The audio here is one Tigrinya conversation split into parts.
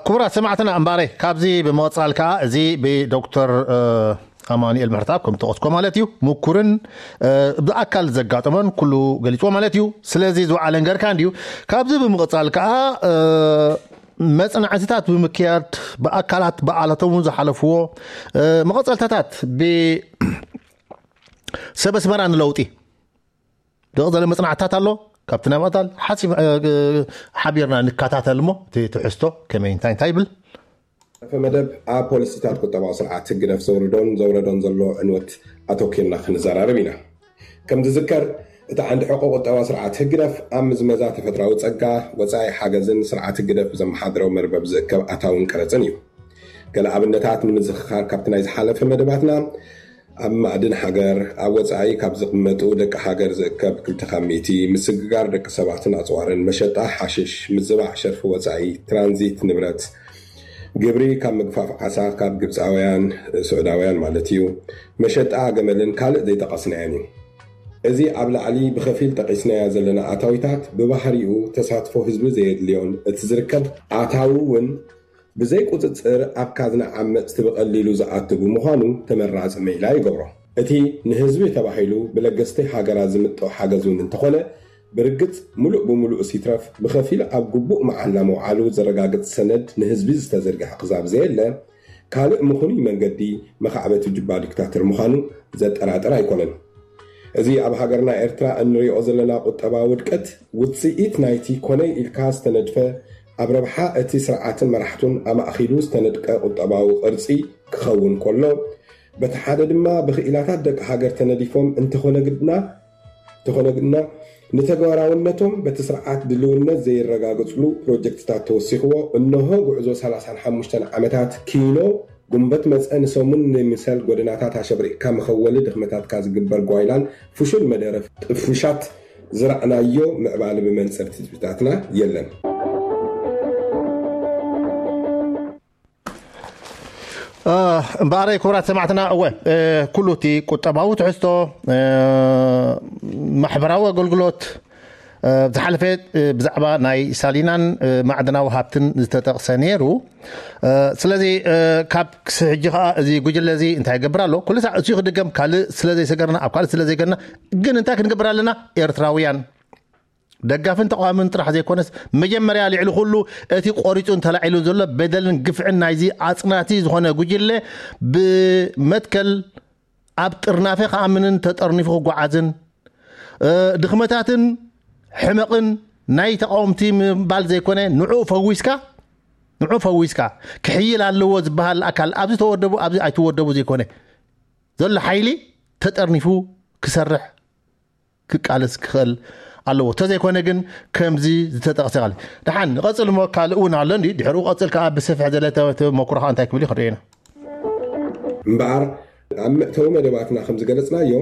ክቡራት ሰማዕትና እምባረይ፣ ካብዚ ብምቕጻል ከኣ እዚ ብዶክተር ኣማኑኤል ምሕረተኣብ ከም ተቐስኮ ማለት እዩ፣ ምኩርን ብኣካል ዘጋጠመን ኩሉ ገሊጽዎ ማለት እዩ። ስለዚ ዝወዓለን ገርካ እንድዩ። ካብዚ ብምቕጻል ከኣ መጽናዕትታት ብምክያድ ብኣካላት ብኣላቶም እውን ዝሓለፍዎ መቐጸልታታት ብሰበ ኣስመራ ንለውጢ ዝቕጸለ መጽናዕትታት ኣሎ። ካብቲ ናይ ምቕጻል ሓቢርና ንከታተል እሞ እቲ ትሕዝቶ ከመይ እንታይ እንታይ ይብል። ሰፈ መደብ ኣብ ፖሊሲታት ቁጠባዊ ስርዓት ህግደፍ ዘውርዶን ዘውረዶን ዘሎ ዕንወት ኣተኪርና ክንዘራረብ ኢና። ከም ዝዝከር እቲ ዓንዲ ሕቆ ቁጠባ ስርዓት ህግደፍ ኣብ ምዝመዛ ተፈጥራዊ ጸጋ፣ ወጻኢ ሓገዝን ስርዓት ህግደፍ ብዘመሓድረው መርበብ ዝእከብ ኣታውን ቀረጽን እዩ። ገለ ኣብነታት ንምዝኽኻር ካብቲ ናይ ዝሓለፈ መደባትና ኣብ ማዕድን ሃገር ኣብ ወጻኢ ካብ ዝቕመጡ ደቂ ሃገር ዝእከብ ክልተ ካብ ሚእቲ፣ ምስግጋር ደቂ ሰባትን ኣጽዋርን፣ መሸጣ ሓሽሽ፣ ምዝባዕ ሸርፊ ወጻኢ፣ ትራንዚት ንብረት፣ ግብሪ ካብ ምግፋፍ ዓሳ ካብ ግብፃውያን፣ ስዑዳውያን ማለት እዩ፣ መሸጣ ገመልን ካልእ ዘይጠቐስናዮን እዩ። እዚ ኣብ ላዕሊ ብኸፊል ጠቒስናዮ ዘለና ኣታዊታት ብባህሪኡ ተሳትፎ ህዝቢ ዘየድልዮን እቲ ዝርከብ ኣታዊ እውን ብዘይ ቁፅፅር ኣብ ካዝና ዓመፅቲ ብቐሊሉ ዝኣቱ ብምዃኑ ተመራፂ ሜላ ይገብሮ። እቲ ንህዝቢ ተባሂሉ ብለገስቲ ሃገራት ዝምጠው ሓገዝ እውን እንተኾነ ብርግፅ ሙሉእ ብሙሉእስ ይትረፍ ብኸፊል ኣብ ግቡእ መዓላ ምውዓሉ ዘረጋግፅ ሰነድ ንህዝቢ ዝተዘርግሐ ክዛብ ዘየለ ካልእ ምኽኑይ መንገዲ መኻዕበቲ ጁባ ዲክታተር ምዃኑ ዘጠራጥር ኣይኮነን። እዚ ኣብ ሃገርና ኤርትራ እንሪኦ ዘለና ቁጠባዊ ውድቀት ውፅኢት ናይቲ ኮነይ ኢልካ ዝተነድፈ ኣብ ረብሓ እቲ ስርዓትን መራሕቱን ኣማእኺሉ ዝተነድቀ ቁጠባዊ ቅርፂ ክኸውን ከሎ በቲ ሓደ ድማ ብኽኢላታት ደቂ ሃገር ተነዲፎም እንተኾነ ግድና እንተኾነ ግድና ንተግባራውነቶም በቲ ስርዓት ድልውነት ዘይረጋገፅሉ ፕሮጀክትታት ተወሲኽዎ እነሆ ጉዕዞ ሰላሳን ሓሙሽተን ዓመታት ኪኖ ጉንበት መፀ ንሰሙን ንምሰል ጎደናታት ኣሸብሪቕካ መኸወሊ ድኽመታትካ ዝግበር ጓይላን ፍሹል መደረ ጥፉሻት ዝረእናዮ ምዕባሊ ብመንፅር ትፅቢታትና የለን። እምበኣረይ ክቡራት ሰማዕትና እወ ኩሉ እቲ ቁጠባዊ ትሕዝቶ ማሕበራዊ ኣገልግሎት ዝሓለፈ ብዛዕባ ናይ ሳሊናን ማዕድናዊ ሃብትን ዝተጠቕሰ ነይሩ። ስለዚ ካብ ክሲ ሕጂ ከዓ እዚ ጉጅለ እዚ እንታይ ይገብር ኣሎ? ኩሉ ሳዕ እሱ ክድገም ካልእ ስለ ዘይሰገርና ኣብ ካልእ ስለ ዘይገርና ግን እንታይ ክንገብር ኣለና? ኤርትራውያን ደጋፍን ተቃዋምን ጥራሕ ዘይኮነስ መጀመርያ ልዕሊ ኩሉ እቲ ቆሪፁ እንተላዒሉ ዘሎ በደልን ግፍዕን ናይዚ ኣፅናቲ ዝኾነ ጉጅለ ብመትከል ኣብ ጥርናፈ ክኣምንን ተጠርኒፉ ክጓዓዝን ድኽመታትን ሕመቕን ናይ ተቃወምቲ ምባል ዘይኮነ ንዕኡ ፈዊስካ ንዑ ፈዊስካ ክሕይል ኣለዎ ዝበሃል ኣካል ኣብዚ ተወደቡ ኣብዚ ኣይትወደቡ ዘይኮነ ዘሎ ሓይሊ ተጠርኒፉ ክሰርሕ ክቃለስ ክኽእል ኣለዎ። ተዘይኮነ ግን ከምዚ ዝተጠቕሰ ቃል ደሓን ንቐጽል እሞ ካልእ እውን ኣሎ እንዲ ድሕሪኡ ቀጽል ከዓ ብሰፊሕ ዘለ ተመኩሮኻ እንታይ ክብል ይኽእል ኢና። እምበኣር ኣብ መእተዊ መደባትና ከም ዝገለጽናዮ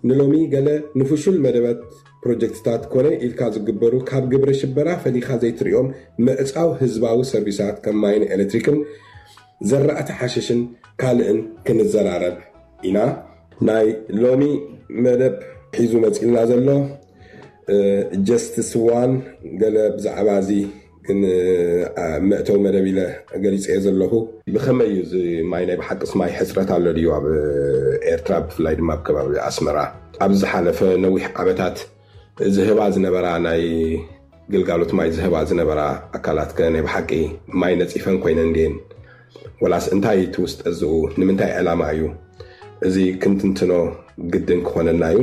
ንሎሚ ገለ ንፍሹል መደባት ፕሮጀክትታት ኮነ ኢልካ ዝግበሩ ካብ ግብረ ሽበራ ፈሊኻ ዘይትሪኦም ምዕጻው ህዝባዊ ሰርቪሳት ከም ማይን ኤሌክትሪክን ዘራእቲ ሓሽሽን ካልእን ክንዘራረብ ኢና። ናይ ሎሚ መደብ ሒዙ መፂልና ዘሎ ጀስትስ ዋን ገለ ብዛዕባ እዚ ግን መእተው መደብ ኢለ ገሊፀ ዘለኹ። ብኸመይ እዩ እዚ ማይ ናይ ብሓቅስ ማይ ሕፅረት ኣሎ ድዩ ኣብ ኤርትራ ብፍላይ ድማ ኣብ ከባቢ ኣስመራ ኣብዚ ዝሓለፈ ነዊሕ ዓመታት ዝህባ ዝነበራ ናይ ግልጋሎት ማይ ዝህባ ዝነበራ ኣካላት ከ ናይ ብሓቂ ማይ ነፂፈን ኮይነን ድየን ወላስ እንታይ እቲ ውስጠ ዝኡ ንምንታይ ዕላማ እዩ እዚ ክንትንትኖ ግድን ክኾነና እዩ።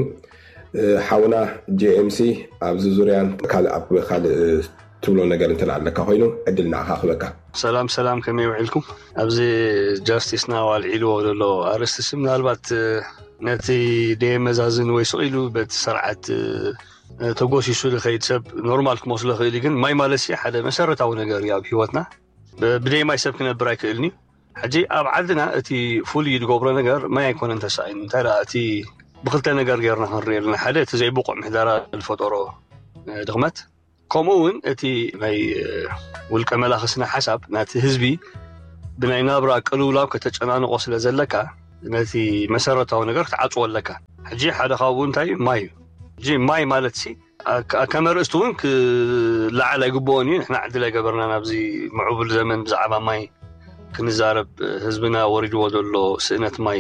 ሓውና ጄኤምሲ ኣብዚ ዙርያን ካልእ ኣብ ካልእ ትብሎ ነገር እንተ ኣለካ ኮይኑ ዕድል ንዓኻ ክበካ። ሰላም ሰላም፣ ከመይ ውዒልኩም? ኣብዚ ጃስቲስ ናው ኣልዒልዎ ዘሎ ኣርእስቲ ሲ ምናልባት ነቲ ደየመዛዝን ወይ ስቕ ኢሉ በቲ ስርዓት ተጎሲሱ ዝኸይድ ሰብ ኖርማል ክመስሎ ክእል እዩ። ግን ማይ ማለት ሲ ሓደ መሰረታዊ ነገር እዩ ኣብ ህይወትና። ብደይ ማይ ሰብ ክነብር ኣይክእልን እዩ። ሕጂ ኣብ ዓድና እቲ ፍሉይ ዝገብሮ ነገር ማይ ኣይኮነን ተሳኢኑ። እንታይ ደኣ እቲ ብክልተ ነገር ገይርና ክንሪኦ ኣለና። ሓደ እቲ ዘይብቑዕ ምሕደራ ዝፈጠሮ ድኽመት፣ ከምኡ እውን እቲ ናይ ውልቀ መላኺ ስነ ሓሳብ ናቲ ህዝቢ ብናይ ናብራ ቅልውላው ከተጨናንቖ ስለ ዘለካ ነቲ መሰረታዊ ነገር ክትዓጽዎ ኣለካ። ሕጂ ሓደ ካብኡ እንታይ እዩ? ማይ እዩ። ሕጂ ማይ ማለት ሲ ከመርእስቲ እውን ክለዓል ኣይግብኦን እዩ። ንሕና ዕድል ኣይገበርና ናብዚ ምዕቡል ዘመን ብዛዕባ ማይ ክንዛረብ። ህዝብና ወሪድዎ ዘሎ ስእነት ማይ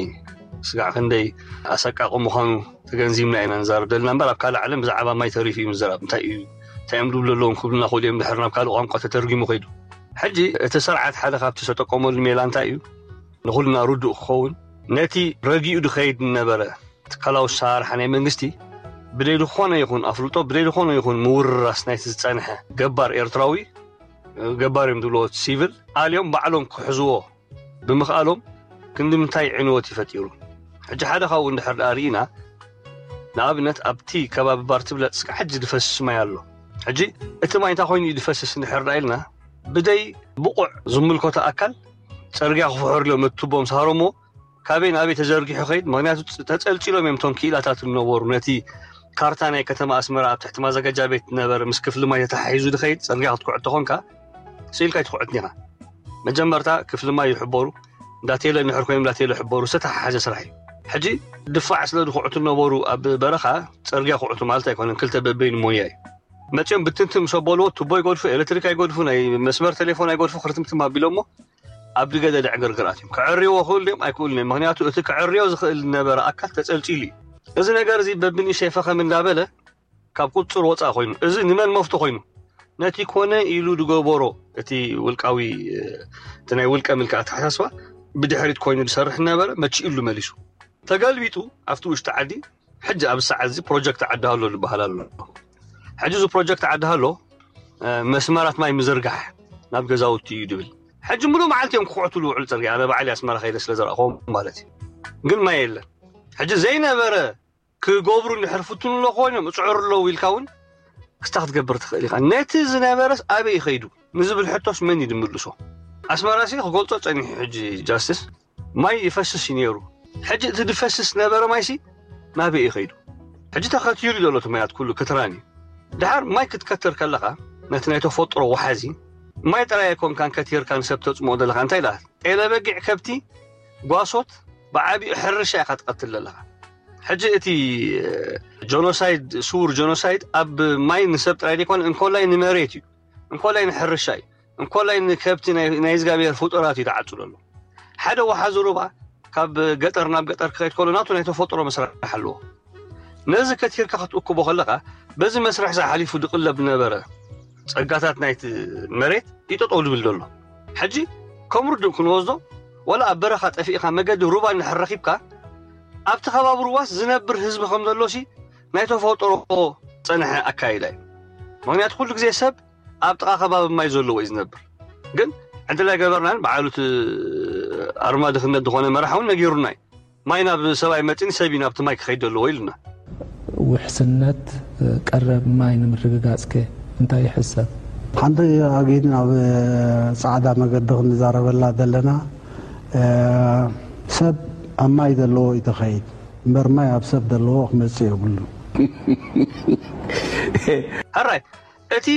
ስጋዕ ክንደይ ኣሰቃቂ ምዃኑ ተገንዚብና ኢና ንዛረብ ዘለና እምበር፣ ኣብ ካልእ ዓለም ብዛዕባ ማይ ተሪፉ እዩ ምዝራብ። እንታይ እዩ እንታይ እዮም ድብሉ ኣለዎም ክብሉና ክእሉ እዮም ድሕር ናብ ካልእ ቋንቋ ተተርጊሙ ከይዱ። ሕጂ እቲ ስርዓት ሓደ ካብቲ ዝተጠቀመሉ ሜላ እንታይ እዩ ንኩልና ርዱእ ክኸውን፣ ነቲ ረጊኡ ድኸይድ ነበረ ትካላዊ ኣሰራርሓ ናይ መንግስቲ ብደይ ዝኾነ ይኹን ኣፍልጦ ብደይ ዝኾነ ይኹን ምውርራስ ናይቲ ዝጸንሐ ገባር ኤርትራዊ፣ ገባር እዮም ዝብልዎ ሲቪል ኣልዮም ባዕሎም ክሕዝዎ ብምኽኣሎም ክንዲ ምንታይ ዕንወት ይፈጢሩ። ሕጂ ሓደ ካብኡ እንድሕር ደኣ ርኢና፣ ንኣብነት ኣብቲ ከባቢ ባርትብለጥ እስከ ሕጂ ዝፈስስ ማይ ኣሎ። ሕጂ እቲ ማይ እንታይ ኮይኑ እዩ ዝፈስስ እንድሕር ደኣ ኢልና፣ ብደይ ብቑዕ ዝምልከቶ ኣካል ጸርግያ ክፍሕርሎም እቲ ቱቦ ምስ ሃረሞ ካበይ ናበይ ተዘርጊሑ ኸይድ። ምክንያቱ ተጸልጺሎም እዮም እቶም ክኢላታት ዝነበሩ ነቲ ካርታ ናይ ከተማ ኣስመራ ኣብ ትሕቲ ማዘጋጃ ቤት ነበረ ምስ ክፍሊ ማይ ተተሓሒዙ ዝኸይድ ጸርግያ ክትኩዕት ተኾንካ ስኢልካ ኣይትኩዕትን ኢኻ። መጀመርታ ክፍሊ ማይ ይሕበሩ፣ እንዳቴለ ንሕር ኮይኖም እንዳቴለ ይሕበሩ፣ ዝተተሓሓዘ ስራሕ እዩ። ሕጂ ድፋዕ ስለ ዝኩዕቱ ነበሩ ኣብ በረኻ ጸርግያ ኩዕቱ ማለት ኣይኮነን፣ ክልተ በበይኑ ሞያ እዩ። መጺኦም ብትንትን ምስ ኣበልዎ ቱቦ ይገድፉ፣ ኤሌክትሪክ ኣይገድፉ፣ ናይ መስመር ቴሌፎን ኣይገድፉ፣ ክርትምትም ኣቢሎሞ ኣብ ድገደደ ዕግርግር ኣትዮም። ከዐርይዎ ክእሉ ድዮም ኣይክእሉን እዮም። ምክንያቱ እቲ ከዐርዮ ዝኽእል ዝነበረ ኣካል ተጸልጺሉ እዩ። እዚ ነገር እዚ በብንእሽተይ ፈኸም እንዳበለ ካብ ቁጽር ወጻእ ኮይኑ፣ እዚ ንመን መፍቶ ኮይኑ፣ ነቲ ኮነ ኢሉ ዝገበሮ እቲ ውልቃዊ እቲ ናይ ውልቀ ምልኪ ኣተሓሳስባ ብድሕሪት ኮይኑ ዝሰርሕ ነበረ፣ መቺእሉ መሊሱ። ተገልቢጡ ኣብቲ ውሽጢ ዓዲ ሕጂ ኣብ ሰዓት እዚ ፕሮጀክት ዓዲ ሃሎ ዝበሃል ኣሎ። ሕጂ እዚ ፕሮጀክት ዓዲ ሃሎ መስመራት ማይ ምዝርጋሕ ናብ ገዛውቲ እዩ ድብል። ሕጂ ሙሉእ መዓልቲ እዮም ክኩዕቱ ዝውዕሉ ጽርግያ። ኣነ ባዕሊ ኣስመራ ከይደ ስለ ዝረእኹዎም ማለት እዩ። ግን ማይ የለን። ሕጂ ዘይነበረ ክገብሩ እንድሕር ፍትኑ ኣሎ ኮይኖም እጽዕሩ ኣለዉ ኢልካ እውን ክስታ ክትገብር ትኽእል ኢኻ። ነቲ ዝነበረስ ኣበይ ይኸይዱ ንዝብል ሕቶስ መን እዩ ዝምልሶ? ኣስመራ ሲ ክገልጾ ጸኒሑ ሕጂ ጃስትስ ማይ ይፈስስ እዩ ነይሩ። ሕጂ እቲ ዝፈስስ ነበረ ማይሲ ናበይ እዩ ከይዱ? ሕጂ ተኸቲሩ ዘሎ እቲ ማያት ኩሉ ክትራን እዩ። ድሓር ማይ ክትከትር ከለኻ ነቲ ናይ ተፈጥሮ ወሓዚ ማይ ጥራይ ኣይኮንካን ከቲርካ ንሰብ ተጽምኦ ዘለኻ እንታይ ኢላ ጤለ በጊዕ ከብቲ ጓሶት ብዓቢኡ ሕርሻ ኢኻ ትቐትል ዘለኻ። ሕጂ እቲ ጆኖሳይድ ስውር ጆኖሳይድ ኣብ ማይ ንሰብ ጥራይ ዘይኮነ እንኮላይ ንመሬት እዩ፣ እንኮላይ ንሕርሻ እዩ፣ እንኮላይ ንከብቲ ናይ እግዚኣብሔር ፍጡራት እዩ ተዓፅሎ ኣሎ። ሓደ ወሓዚ ሩባ ካብ ገጠር ናብ ገጠር ክኸይድ ከሎ ናቱ ናይ ተፈጥሮ መስርሕ ኣለዎ። ነዚ ከቲርካ ክትእክቦ ከለኻ በዚ መስርሕ ዝሓሊፉ ዝቕለብ ዝነበረ ፀጋታት ናይቲ መሬት ይጠጠው ዝብል ዘሎ። ሕጂ ከም ርዱእ ክንወስዶ ዋላ ኣብ በረኻ ጠፊእኻ መገዲ ሩባ እንድሕር ረኺብካ ኣብቲ ከባቢ ሩባስ ዝነብር ህዝቢ ከም ዘሎሲ ናይ ተፈጥሮ ዝፀንሐ ኣካይዳ እዩ። ምክንያቱ ኩሉ ግዜ ሰብ ኣብ ጥቓ ከባቢ ማይ ዘለዎ እዩ ዝነብር። ግን ዕድል ኣይገበርናን። በዓሉ እቲ ኣርማ ድኽነት ዝኾነ መራሕ እውን ነጊሩና እዩ። ማይ ናብ ሰብ ኣይመፅን፣ ሰብ እዩ ናብቲ ማይ ክኸይድ ዘለዎ ኢሉና። ውሕስነት ቀረብ ማይ ንምርግጋፅ ከ እንታይ ይሕሰብ? ሓንቲ ኣጊድ ናብ ፃዕዳ መገዲ ክንዛረበላ ዘለና ሰብ ኣብ ማይ ዘለዎ እዩ ተኸይድ እምበር ማይ ኣብ ሰብ ዘለዎ ክመፅእ የብሉ። ሕራይ እቲ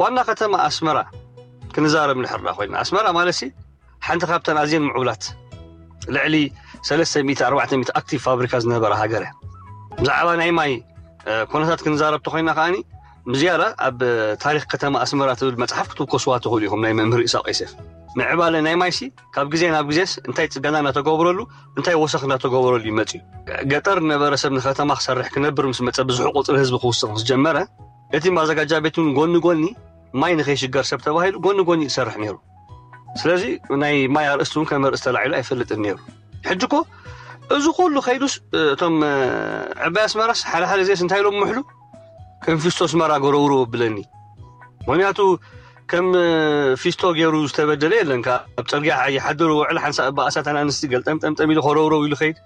ዋና ከተማ ኣስመራ ክንዛረብ ንሕርዳ ኮይና ኣስመራ ማለት ሓንቲ ካብተን ኣዝየን ምዕቡላት ልዕሊ ሰለስተ ሚእቲ ኣርባዕተ ሚእቲ ኣክቲቭ ፋብሪካ ዝነበረ ሃገር እያ። ብዛዕባ ናይ ማይ ኩነታት ክንዛረብ ተኮይና ከዓኒ ብዝያዳ ኣብ ታሪክ ከተማ ኣስመራ ትብል መፅሓፍ ክትውከስዋ ትኽእሉ ኢኹም ናይ መምህር ኢሳቅ ዮሴፍ። ምዕባለ ናይ ማይሲ ካብ ግዜ ናብ ግዜስ እንታይ ፅገና እናተገብረሉ እንታይ ወሰኽ እናተገብረሉ ይመፅ እዩ። ገጠር ዝነበረ ሰብ ንከተማ ክሰርሕ ክነብር ምስ መፀ ብዙሕ ቁፅሪ ህዝቢ ክውስኽ ምስ ጀመረ እቲ ማዘጋጃ ቤት እውን ጎኒ ጎኒ ማይ ንከይሽገር ሰብ ተባሂሉ ጎኒ ጎኒ ይሰርሕ ነይሩ። ስለዚ ናይ ማይ ኣርእስቲ እውን ከም ኣርእስቲ ተላዒሉ ኣይፈልጥን ነይሩ። ሕጂ እኮ እዚ ኩሉ ከይዱስ እቶም ዕባይ ኣስመራስ ሓደ ሓደ ግዜስ እንታይ ኢሎም ምሕሉ ከም ፊስቶ ኣስመራ ጎረውሮ ብለኒ። ምክንያቱ ከም ፊስቶ ገይሩ ዝተበደለ የለን። ካብ ፅርግያ ይሓድር ውዕል ሓንሳእ እባ ኣሳት ኣናንስቲ ገልጠምጠምጠም ኢሉ ከረውረው ኢሉ ከይድ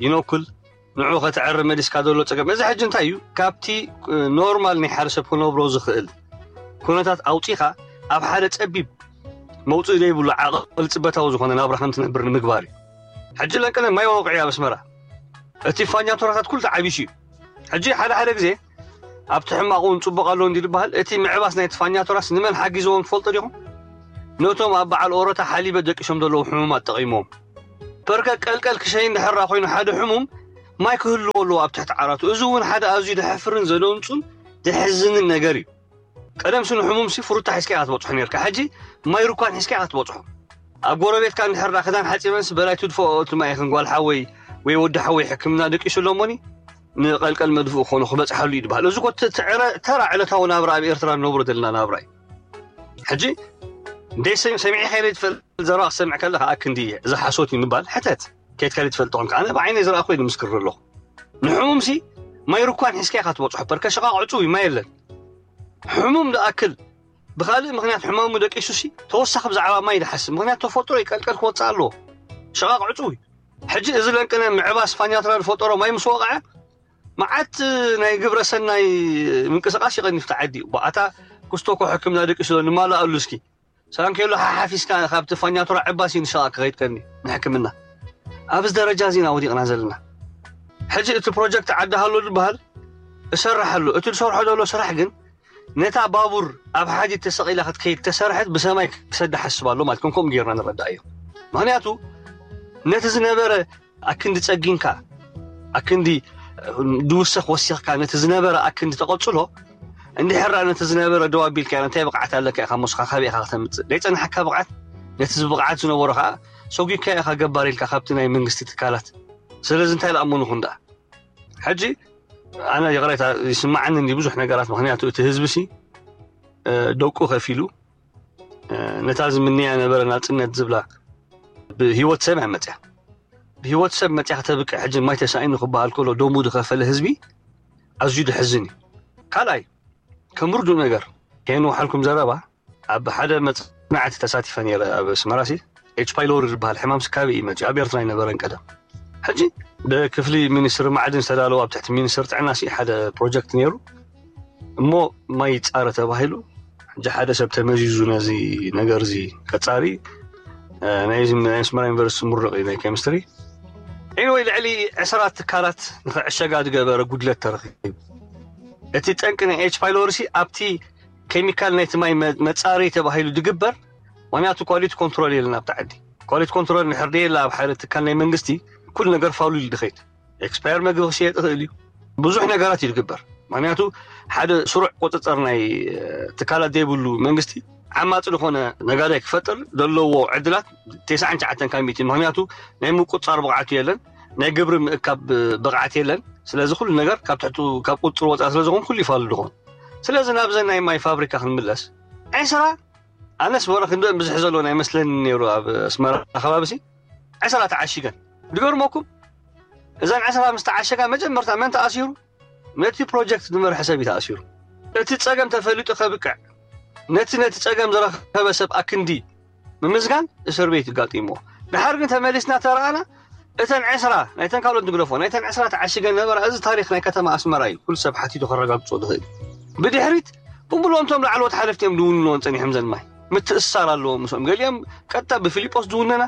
ይነኩል። ንዑ ከተዕሪ መሊስካ ዘሎ ፀገም እዚ ሕጂ እንታይ እዩ? ካብቲ ኖርማል ናይ ሓደ ሰብ ክነብሮ ዝኽእል ኩነታት ኣውፂኻ ኣብ ሓደ ፀቢብ መውፅኢ ዘይብሉ ዓቐል ፅበታዊ ዝኾነ ናብራ ከም ትነብር ንምግባር እዩ። ሕጂ ለንቀነ ማይ ወቕዒ ኣብ ኣስመራ እቲ ፋኛቶራታት ኩሉ ተዓቢሱ እዩ። ሕጂ ሓደ ሓደ ግዜ ኣብቲ ሕማቕ እውን ፅቡቕ ኣሎ እንዲ ዝበሃል እቲ ምዕባስ ናይ ፋኛቶራስ ንመን ሓጊዝዎም ትፈልጡ ዲኹም? ነቶም ኣብ በዓል ኦሮታ ሓሊበ ደቂሶም ዘለዉ ሕሙማት ጠቒሞም። ፐርከ ቀልቀል ክሸይን ድሕራ ኮይኑ ሓደ ሕሙም ማይ ክህልዎ ኣለዎ ኣብ ትሕቲ ዓራቱ። እዚ እውን ሓደ ኣዝዩ ደሕፍርን ዘደንጹን ዘሕዝንን ነገር እዩ። ቀደምሲ ንሕሙምሲ ፍሩታ ሒዝካ ኢኻ ትበፅሖ ነርካ። ሕጂ ማይ ሩኳን ሒዝካ ኢኻ ትበፅሖ። ኣብ ጎረቤትካ እንድሕር ዳ ክዳን ሓፂበንሲ በላይ ትድፍኦ እቲ ማይ ይኽን ጓል ሓወይ ወይ ወዲ ሓወይ ሕክምና ደቂሱ ኣሎሞኒ ንቐልቀል መድፍኡ ክኾኑ ክበፅሓሉ እዩ ዝበሃል። እዚ እኮ እቲ ዕረ-፣ ተራ ዕለታዊ ናብራ ኣብ ኤርትራ ንነብሮ ዘለና ናብራ እዩ። ሕጂ እንደ ሰም-፣ ሰሚዐ ከይደ ትፈልጥ ዘረባ ክሰምዕ ከለኻ ኣክንዲ እየ። እዚ ሓሶት እዩ ምባል ሕተት። ከይድ ከይደ ትፈልጥ ኾንካ። ኣነ ብዓይነይ ዝረኣኹ እየ ዝምስክር ዘለኹ። ንሕሙምሲ ማይ ሩኳን ሒዝካ ኢኻ ትበፅሖ። ፐርከ ሸቓቕ ዕፁው እዩ፣ ማይ የለን። ሕሙም ዝኣክል ብኻልእ ምኽንያት ሕማሙ ደቂሱሲ ተወሳኺ ብዛዕባ ማይ ዝሓስብ ምኽንያት ተፈጥሮ ይቀልቀል ክወፅእ ኣለዎ። ሸቓቕ ዕፁው እዩ። ሕጂ እዚ ለንቅነ ምዕባስ ፋኛትራ ዝፈጠሮ ማይ ምስ ወቕዐ መዓት ናይ ግብረ ሰናይ ምንቅስቃስ ይቐንፍ ተዓዲ እዩ። ኣታ ኩስቶኮ ሕክምና ደቂሱ ዶ ንማልኣሉ እስኪ። ሳንኬሎ ሓሓፊስካ ካብቲ ፋኛቱራ ዕባሲ ንሸቓ ክኸይድ ቀኒ ንሕክምና። ኣብዚ ደረጃ እዚ ኢና ወዲቕና ዘለና። ሕጂ እቲ ፕሮጀክት ዓዲ ሃሎ ዝበሃል እሰርሕ ኣሎ። እቲ ዝሰርሖ ዘሎ ስራሕ ግን ነታ ባቡር ኣብ ሓዲድ ተሰቒላ ክትከይድ ተሰርሐት ብሰማይ ክሰዳ ሓስብ ኣሎ ማለት ከም ከምኡ ጌርና ንረዳእ እዩ። ምኽንያቱ ነቲ ዝነበረ ኣክንዲ ጸጊንካ፣ ኣክንዲ ድውሰኽ ወሲኽካ ነቲ ዝነበረ ኣክንዲ ተቐጽሎ፣ እንድሕር ደኣ ነቲ ዝነበረ ደው ኣቢልካ እንታይ ብቕዓት ኣለካ ኢኻ ሞስኻ ካበይ ኢኻ ከተምጽእ? ዘይጸንሓካ ብቕዓት፣ ነቲ ብቕዓት ዝነበሮ ከኣ ሰጒግካ ኢኻ ገባር ኢልካ ካብቲ ናይ መንግስቲ ትካላት። ስለዚ እንታይ ዝኣመኑ ይኹን ደኣ። ሕጂ ኣነ ይቕሬታ ይስምዓኒ እንዲ ብዙሕ ነገራት፣ ምኽንያቱ እቲ ህዝቢ ሲ፣ እ፣ ደቁ ከፊሉ፣ እ፣ ነታ ዝምንያ ነበረ ናጽነት ዝብላ ብህይወት ሰብ እያ መጽያ። ብህይወት ሰብ መጽያ ከተብቅዕ ሕጂ ማይ ተሳኢኑ ክበሃል ከሎ ደሙ ዝኸፈለ ህዝቢ ኣዝዩ ድሕዝን እዩ። ካልኣይ፣ ከም ርዱእ ነገር ከየንውሓልኩም ዘረባ፣ ኣብ ሓደ መጽናዕቲ ተሳቲፈ ነይረ ኣብ ኣስመራ ሲ፣ ኤች ፓይሎሪ ዝበሃል ሕማም ስካቢ እዩ መጽዩ። ኣብ ኤርትራ ኣይነበረን ቀደም። ሕጂ ብክፍሊ ሚኒስትሪ ማዕድን ዝተዳለወ ኣብ ትሕቲ ሚኒስትሪ ጥዕና ሲ ሓደ ፕሮጀክት ነይሩ እሞ ማይ ይጻረ ተባሂሉ። ሕጂ ሓደ ሰብ ተመዚዙ ነዚ ነገር እዚ ከጻሪ፣ እ፣ ናይ፣ ናይ ኣስመራ ዩኒቨርሲቲ ምሩቕ እዩ ናይ ኬሚስትሪ። ኤኒወይ ልዕሊ ዕስራ ትካላት ንኽዕሸጋ ዝገበረ ጉድለት ተረኺቡ። እቲ ጠንቂ ናይ ኤች ፓይሎሪ ሲ ኣብቲ ኬሚካል ናይቲ ማይ መ-፣ መጻረዪ ተባሂሉ ዝግበር፣ ምኽንያቱ ኳሊቲ ኮንትሮል የለን ኣብቲ ዓዲ። ኳሊቲ ኮንትሮል እንድሕር ደየለ ኣብ ሓደ ትካል ናይ መንግስቲ ኩሉ ነገር ፋሉል እዩ ዝኸይድ። ኤክስፓየር መግቢ ክሽየጥ ይኽእል እዩ። ብዙሕ ነገራት እዩ ዝግበር። ምኽንያቱ ሓደ ስሩዕ ቁጽጽር ናይ፣ እ፣ ትካላት ዘይብሉ መንግስቲ ዓማጺ ዝኾነ ነጋዳይ ክፈጥር ዘለዎ ዕድላት ተስዓን ትሽዓተን ካብ ሚእቲ። ምኽንያቱ ናይ ምቁጽጻር ብቕዓቱ የለን፣ ናይ ግብሪ ምእካብ ብቕዓት የለን። ስለዚ ኩሉ ነገር ካብ ትሕቱ፣ ካብ ቁጽጽር ወጻኢ ስለ ዝኾን ኩሉ ይፋሉ ዝኾን። ስለዚ ናብዘን ናይ ማይ ፋብሪካ ክንምለስ፣ ዕስራ ኣነስ ወረ ክንደኦም ብዝሕ ዘሎ ናይ መስለኒ ነይሩ ኣብ ኣስመራ ከባቢ ሲ ዕስራ ተዓሺገን። ዝገርመኩም እዘን ዕስራ ምስ ተዓሸጋ መጀመርታ መን ተኣሲሩ? ነቲ ፕሮጀክት ዝመርሐ ሰብ እዩ ተኣሲሩ። እቲ ጸገም ተፈሊጡ ከብቅዕ ነቲ ነቲ ጸገም ዝረኸበ ሰብ ኣክንዲ ምምዝጋን እስር ቤት ይጋጢምዎ። ድሓር ግን ተመሊስና ተረኣና እተን ዕስራ ናይተን ካልኦት ንግደፎ ናይተን ዕስራ ተዓሺገን ነበራ። እዚ ታሪኽ ናይ ከተማ ኣስመራ እዩ። ኩሉ ሰብ ሓቲቱ ከረጋግጾ ዝኽእል። ብድሕሪት ብሙሉኦም እቶም ላዕለዎት ሓለፍቲ እዮም ዝውንንዎን ጸኒሖም ዘን ማይ። ምትእስሳር ኣለዎም ምስኦም። ገሊኦም ቀጥታ ብፊሊጶስ ዝውነና፣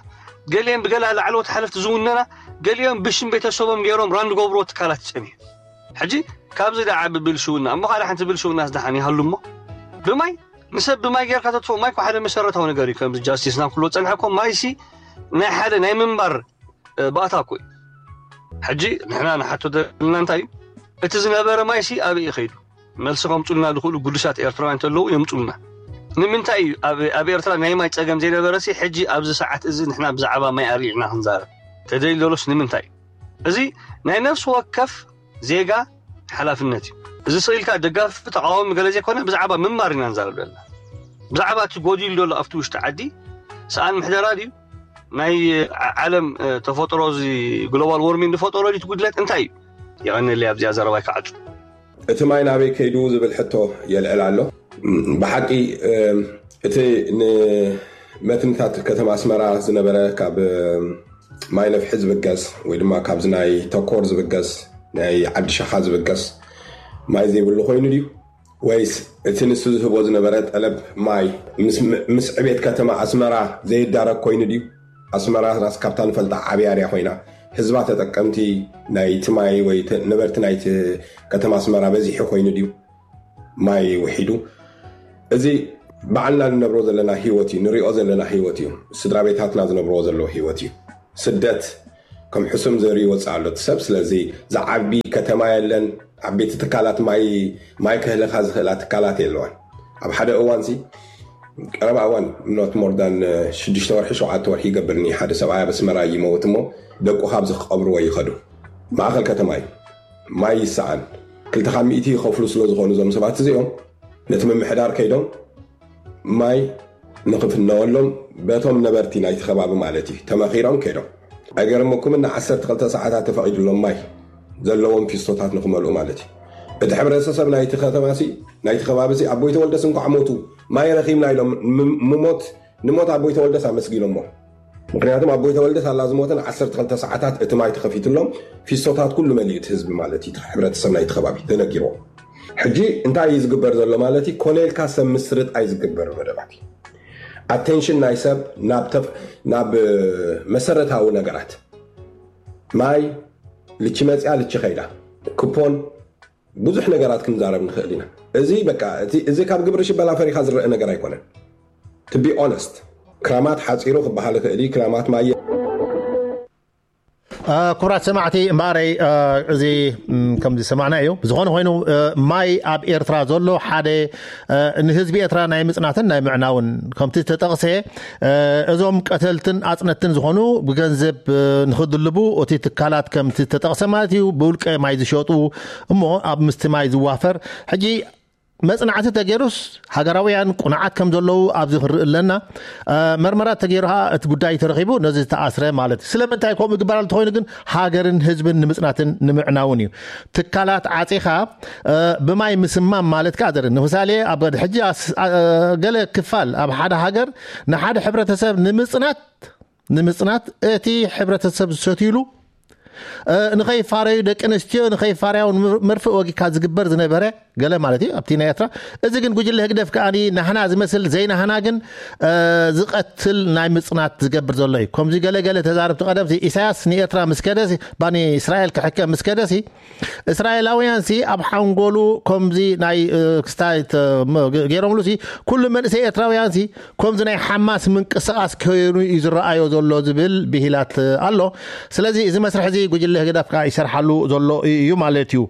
ገሊኦም ብገለ ላዕለዎት ሓለፍቲ ዝውነና፣ ገሊኦም ብሽም ቤተሰቦም ገይሮም ራን ዝገብርዎ ትካላት ጸኒሑ። ሕጂ ካብዚ ደኣ ዓቢ ብልሽውና፣ እሞ ካልእ ሓንቲ ብልሽውናስ ደሓን ይሃሉ እሞ። ብማይ፣ ንሰብ ብማይ ጌርካ ተጥፍኦ፣ ማይ እኮ ሓደ መሰረታዊ ነገር እዩ። ከምዚ ጃስቲስ ናብ ክልዎ ጸንሐ እኮ ማይሲ ናይ ሓደ ናይ ምንባር፣ እ፣ ባእታ እኮ እዩ። ሕጂ ንሕና ንሓቶ ዘለና እንታይ እዩ? እቲ ዝነበረ ማይሲ ኣበይ እዩ ከይዱ? መልሲ ከምጹልና ዝኽእሉ ግዱሳት ኤርትራውያን እንተለዉ የምጹልና። ንምንታይ እዩ ኣብ፣ ኣብ ኤርትራ ናይ ማይ ጸገም ዘይነበረሲ ሕጂ ኣብዚ ሰዓት እዚ ንሕና ብዛዕባ ማይ ኣልዒልና ክንዛረብ ተደልዩ ዘሎስ ንምንታይ እዩ? እዚ ናይ ነፍሲ ወከፍ ዜጋ ሓላፍነት እዩ። እዚ ስቕ ኢልካ ደጋፊ ተቓዋሚ ገለ ዘይኮነ ብዛዕባ ምንባር ኢና ንዛረብ ዘለና። ብዛዕባ እቲ ጎዲሉ ዘሎ ኣብቲ ውሽጢ ዓዲ ሰኣን ምሕደራ ድዩ? ናይ ዓ-፣ ዓለም፣ እ፣ ተፈጥሮ እዚ ግሎባል ዎርሚንግ ዝፈጠሮ ድዩ እቲ ጉድለት? እንታይ እዩ? የቐንየለይ ኣብዚኣ ዘረባይ ክዓጹ። እቲ ማይ ናበይ ከይዱ ዝብል ሕቶ የልዕል ኣሎ። ብሓቂ፣ እ፣ እቲ ንመትንታት ከተማ ኣስመራ ዝነበረ ካብ፣ እ፣ ማይ ነፍሒ ዝብገስ ወይ ድማ ካብዚ ናይ ተኮር ዝብገስ ናይ ዓዲ ሸኻ ዝብገስ ማይ ዘይብሉ ኮይኑ ድዩ? ወይስ እቲ ንሱ ዝህቦ ዝነበረ ጠለብ ማይ ምስ፣ ምስ ዕቤት ከተማ ኣስመራ ዘይዳረግ ኮይኑ ድዩ? ኣስመራ ራስ ካብታ ንፈልጣ ዓብያ ድያ ኮይና ህዝባ ተጠቀምቲ ናይቲ ማይ ወይ ተ-፣ ነበርቲ ናይቲ ከተማ ኣስመራ በዚሑ ኮይኑ ድዩ? ማይ ውሒዱ። እዚ ባዕልና ንነብሮ ዘለና ህይወት እዩ፣ ንሪኦ ዘለና ህይወት እዩ። ስድራ ቤታትና ዝነብርዎ ዘለዉ ህይወት እዩ። ስደት ከም ሕሱም ዘርኢ ይወፅእ ኣሎ እቲ ሰብ። ስለዚ ዝዓቢ ከተማ የለን። ዓበይቲ ትካላት ማይ ማይ ከህለካ ዝኽእላ ትካላት የለዋን። ኣብ ሓደ እዋንሲ ቀረባ እዋን፣ not more than ሽዱሽተ ወርሒ ሸውዓተ ወርሒ ይገብርኒ፣ ሓደ ሰብኣይ ኣብ ኣስመራ ይመውት እሞ ደቁ ካብዚ ክቐብርዎ ይኸዱ። ማእኸል ከተማ እዩ። ማይ ይሰኣን። ክልተ ካብ ሚእቲ ይኸፍሉ ስለ ዝኾኑ እዞም ሰባት እዚኦም ነቲ ምምሕዳር ከይዶም ማይ ንኽፍነወሎም በቶም ነበርቲ ናይቲ ከባቢ ማለት እዩ ተመኺሮም ከይዶም። ኣይገርመኩምን፣ ንዓሰርተ ክልተ ሰዓታት ተፈቒዱሎም ማይ ዘለዎም ፊስቶታት ንኽመልኡ ማለት እዩ። እቲ ሕብረተሰብ ናይቲ ከተማሲ ናይቲ ከባቢሲ ኣቦይ ተወልደስ እንኳዕ ሞቱ ማይ ረኺብና ኢሎም ም- ምሞት ንሞት ኣቦይ ተወልደስ ኣመስጊኖሞ። ምክንያቱም ኣቦይ ተወልደስ ኣላ ዝሞተ ንዓሰርተ ክልተ ሰዓታት እቲ ማይ ተኸፊትሎም ፊስቶታት ኩሉ መሊኡ እቲ ህዝቢ ማለት እዩ፣ እቲ ሕብረተሰብ ናይቲ ከባቢ ተነጊርዎ። ሕጂ እንታይ እዩ ዝግበር ዘሎ ማለት እዩ? ኮነ ኢልካ ሰብ ምስርጥ ኣይዝግበር መደባት እዩ። ኣቴንሽን ናይ ሰብ ናብ ተፍ- ናብ መሰረታዊ ነገራት ማይ ልቺ መፅያ ልቺ ከይዳ ክፖን ብዙሕ ነገራት ክንዛረብ ንኽእል ኢና። እዚ በቃ እቲ- እዚ ካብ ግብሪ ሽበላ ፈሪኻ ዝረአ ነገር ኣይኮነን። To be honest ክራማት ሓፂሩ ክበሃል ይኽእል እዩ። ክራማት ማየ ክቡራት ሰማዕቲ እምበኣረይ እዚ ከም ዝሰማዕና እዩ። ብዝኾነ ኮይኑ ማይ ኣብ ኤርትራ ዘሎ ሓደ ንህዝቢ ኤርትራ ናይ ምፅናትን ናይ ምዕናውን ከምቲ ዝተጠቕሰ እዞም ቀተልትን ኣፅነትን ዝኾኑ ብገንዘብ ንክድልቡ እቲ ትካላት ከምቲ ዝተጠቕሰ ማለት እዩ ብውልቀ ማይ ዝሸጡ እሞ ኣብ ምስቲ ማይ ዝዋፈር ሕጂ መፅናዕቲ ተገይሩስ ሃገራውያን ቁኑዓት ከም ዘለዉ ኣብዚ ክንርኢ ኣለና። መርመራ ተገይሩ ከዓ እቲ ጉዳይ ተረኺቡ ነዚ ዝተኣስረ ማለት እዩ። ስለምንታይ ከምኡ ይግበር ኣሎ ተኾይኑ ግን ሃገርን ህዝብን ንምፅናትን ንምዕናውን እዩ። ትካላት ዓፂኻ ብማይ ምስማም ማለት ከዓ ዘርኢ ንምሳሌ ኣብ ሕጂ ገለ ክፋል ኣብ ሓደ ሃገር ንሓደ ሕብረተሰብ ንምፅናት ንምፅናት እቲ ሕብረተሰብ ዝሰትዩሉ ንኸይፋረዩ ደቂ ኣንስትዮ ንኸይፋረያውን መርፍእ ወጊካ ዝግበር ዝነበረ ገለ ማለት እዩ ኣብቲ ናይ ኤርትራ። እዚ ግን ጉጅለ ህግደፍ ከኣ ናህና ዝመስል ዘይናህና ግን ዝቐትል ናይ ምፅናት ዝገብር ዘሎ እዩ። ከምዚ ገለ ገለ ተዛረብቲ ቀደም ኢሳያስ ንኤርትራ ምስ ከደሲ ባኒ እስራኤል ክሕከም ምስ ከደሲ እስራኤላውያን ሲ ኣብ ሓንጎሉ ከምዚ ናይ ክስታይ ገይሮምሉ ሲ ኩሉ መንእሰይ ኤርትራውያን ሲ ከምዚ ናይ ሓማስ ምንቅስቃስ ከይኑ እዩ ዝረኣዮ ዘሎ ዝብል ብሂላት ኣሎ። ስለዚ እዚ መስርሕ እዚ ጉጅለ ህግደፍ ከዓ ይሰርሓሉ ዘሎ እዩ ማለት እዩ።